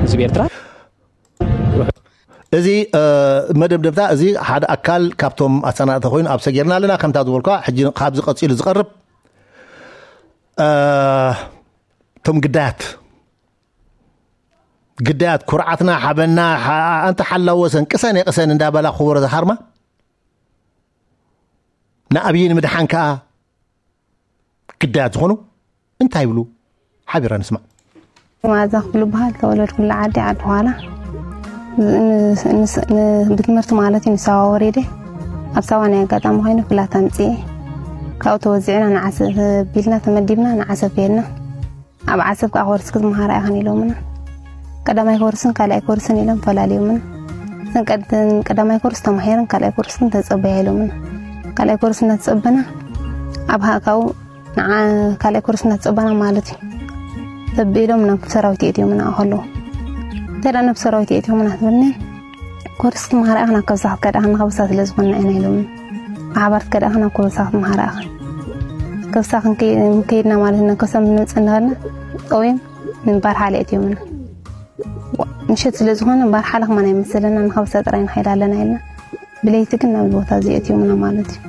ህዝቢ ኤርትራ እዚ መደምደምታ እዚ ሓደ ኣካል ካብቶም ኣሰናድእቲ ኮይኑ ኣብ ሰጊርና ኣለና። ከምታ ዝበልኳ ሕጂ ካብዚ ቀፂሉ ዝቐርብ እቶም ግዳያት ግዳያት ኩርዓትና ሓበና። ኣንተ ሓላወሰን ቅሰን የቅሰን እንዳበላ ክቡረ ዝሃርማ ንኣብይ ንምድሓን ከዓ ግዳያት ዝኾኑ እንታይ ይብሉ? ሓቢራ ንስማዕ። ማዛ ክፍሉ በሃል፣ ተወለድኩሉ ዓዲ ዓዲ ኋላ። ብትምህርቲ ማለት እዩ ንሳዋ ወሪደ። ኣብ ሳዋ ናይ ኣጋጣሚ ኮይኑ ፍላት ኣምፅኤ። ካብኡ ተወዚዕና ንዓሰብ ቢልና ተመዲብና ንዓሰብ ከየድና። ኣብ ዓሰብ ከዓ ኮርስ ክትመሃራ ኢኸን ኢሎምና። ቀዳማይ ኮርስን ካልኣይ ኮርስን ኢሎም ፈላልዮምና። እተን ቀዳማይ ኮርስ ተማሂረን ካልኣይ ኮርስ ግን ተፀበያ ኢሎምና። ካልኣይ ኮርስ እናተፀበና ኣብ ሃእካው ንዓ ካልኣይ ኮርስ እናተፀበና ማለት እዩ። ተቢሎም ናብ ሰራዊት የእትዮምና ከለዉ እንተ ናብ ሰራዊት የእትዮምና ትብልኒ ኮርስ ክትመሃራ ኢኽን ኣብ ከብሳ ክትከዳ ኢኽን ከብሳ ስለ ዝኾንና ኢና ኢሎምና። ብሓባር ትከዳ ኢኽን ኣብ ከብሳ ክትመሃራ ኢኽን ከብሳ ክንከይድና ማለት ኢና ከብሳ ምንመፅእ እንዳበልና ጠውዮም ንባርሓለ የእትዮምና። ምሸት ስለ ዝኾነ ባርሓለ ከማን ኣይመሰለና ንከብሳ ጥራይ ንኸይድ ኣለና ኢልና ብለይቲ ግን ናብዚ ቦታ እዚ ኣእትዮምና ማለት እዩ።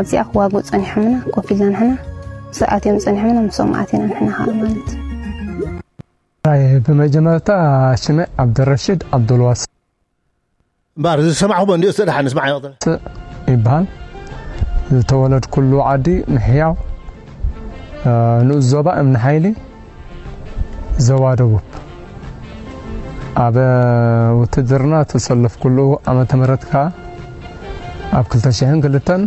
ኣብዚኣ ክዋግኡ ጸኒሖምና፣ ኮፍ ኢልና ንሕና፣ ምስኡ ኣትዮም ጸኒሖምና፣ ምስኦም ኣቲና ንሕና ከኣ ማለት እዩ። ኣይ፣ ብመጀመርታ ሽመይ ዓብደረሽድ ዓብዱልዋስ እምበኣር፣ እዚ ዝሰማዕኹሞ እንድዮ፣ እስተ ደሓን ንስማዕ፣ ይቕጽል። ይበሃል። ዝተወለድኩሉ ዓዲ ምሕያው፣ እ፣ ንኡስ ዞባ እምኒ ሓይሊ፣ ዞባ ደቡብ። ኣብ ውትድርና ተሰለፍኩሉ ዓመተ ምህረት ከኣ ኣብ ክልተ ሽሕን ክልተን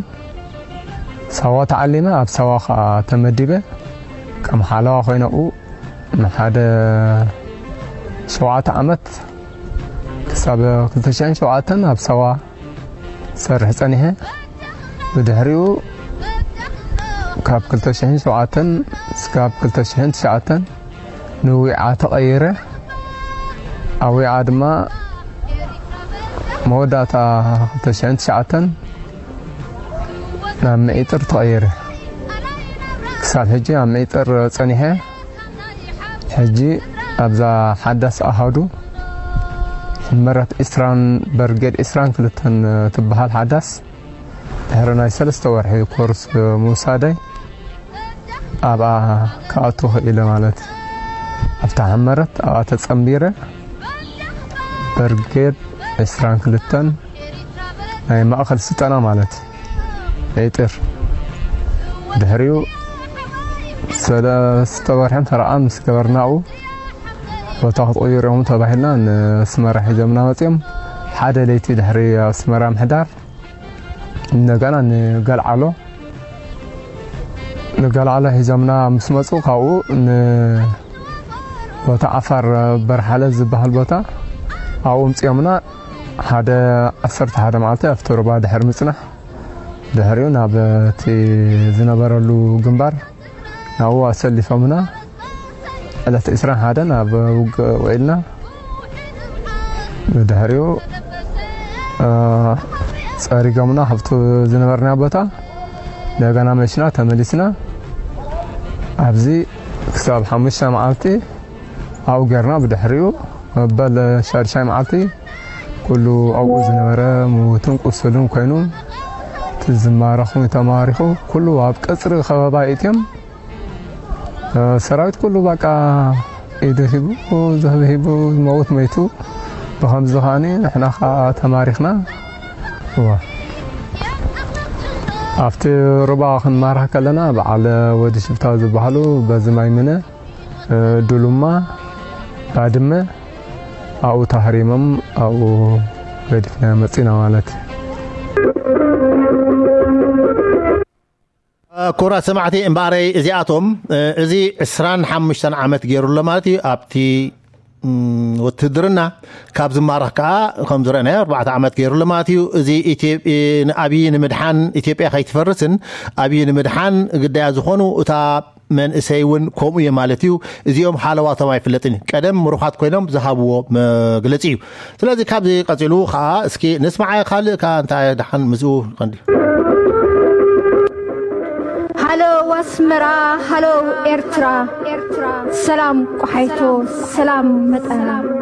ሳዋ ተዓሊመ፣ ኣብ ሳዋ ከኣ ተመዲበ። ከም ሓለዋ ኮይነ ኣብኡ ንሓደ ሸውዓተ ዓመት ክሳብ ክልተ ሽሕን ሸውዓተን ኣብ ሳዋ ሰርሕ ጸኒሐ። ብድሕሪኡ ካብ ክልተ ሽሕን ሸውዓተን እስካብ ክልተ ሽሕን ትሽዓተን ንዊዓ ተቐይረ። ኣብ ዊዓ ድማ መወዳእታ ክልተ ሽሕን ትሽዓተን ናብ ምዒጥር ተቐይረ። ክሳብ ሕጂ ኣብ ምዒጥር ጸኒሐ። ሕጂ ኣብዛ ሓዳስ ኣሃዱ ሕመረት ዒስራን በርጌድ ዒስራን ክልተን ትበሃል ሓዳስ ድሕሪ ናይ ሰለስተ ወርሒ ኮርስ ምውሳደይ ኣብኣ ክኣቱ ክኢለ ማለት እዩ። ኣብታ ሕመረት ኣብኣ ተጸንቢረ በርጌድ ዒስራን ክልተን ናይ ማእኸል ስልጠና ማለት እዩ። ዒጥር ድሕሪኡ ሰለስተ ወርሒ ፈረቓ ምስ ገበርናኡ ቦታ ክትቕይሩ ኢኹም ተባሂልና ንስመራ ሒዞምና መፅዮም። ሓደ ለይቲ ድሕሪ ኣብ ኣስመራ ምሕዳር እንደገና ንገልዓሎ ንገልዓሎ ሒዞምና ምስ መፁ ካብኡ ንቦታ ዓፋር በርሓለ ዝበሃል ቦታ ኣብኡ ምፅዮምና ሓደ ዓሰርተ ሓደ መዓልቲ ኣብቲ ሩባ ድሕሪ ምፅናሕ ድሕሪኡ ናብ እቲ ዝነበረሉ ግንባር ናብኡ ኣሰሊፎምና ዕለት ዒስራን ሓደን ኣብ ውግእ ውዒልና። ብድሕሪኡ ጸሪጎምና ካብቲ ዝነበርና ቦታ እንደገና መሽና ተመሊስና ኣብዚ ክሳብ ሓሙሽተ መዓልቲ ኣብኡ ጌርና። ብድሕሪኡ መበል ሻድሻይ መዓልቲ ኩሉ ኣብኡ ዝነበረ ምውትን ቁስሉን ኮይኑ እቲ ዝማረኹ ተማሪኹ ኩሉ ኣብ ቀፅሪ ከበባ ይእትዮም። ሰራዊት ኩሉ በቃ ኢዱ ሂቡ ዝህብ ሂቡ ዝመውት መይቱ። ብኸምዚ ከዓኒ ንሕና ከዓ ተማሪኽና። እዋ ኣብቲ ሩባ ክንማርኽ ከለና በዓል ወዲ ሽፍታ ዝበሃሉ በዚ ማይ ምነ ዱሉማ ባድመ ኣብኡ ተሃሪሞም ኣብኡ ገዲፍና መፂና ማለት እዩ። ክቡራት ሰማዕቲ እምበኣረይ እዚኣቶም እዚ ዕስራን ሓሙሽተን ዓመት ገይሩ ኣሎ ማለት እዩ ኣብቲ ውትድርና። ካብ ዝማረኽ ከዓ ከም ዝረእናዮ ኣርባዕተ ዓመት ገይሩ ኣሎ ማለት እዩ። እዚ ንኣብይ ንምድሓን ኢትዮጵያ ከይትፈርስን ኣብይ ንምድሓን ግዳያ ዝኾኑ እታ መንእሰይ እውን ከምኡ እዩ ማለት እዩ። እዚኦም ሓለዋቶም ኣይፍለጥን እዩ። ቀደም ምሩኻት ኮይኖም ዝሃብዎ መግለፂ እዩ። ስለዚ ካብዚ ቀፂሉ ከዓ እስኪ ንስማዓ ካልእ ከዓ እንታይ ደሓን ምስኡ ቀንዲ ሃሎ ኣስመራ፣ ሃሎ ኤርትራ፣ ሰላም ቆሓይቶ፣ ሰላም መጠና።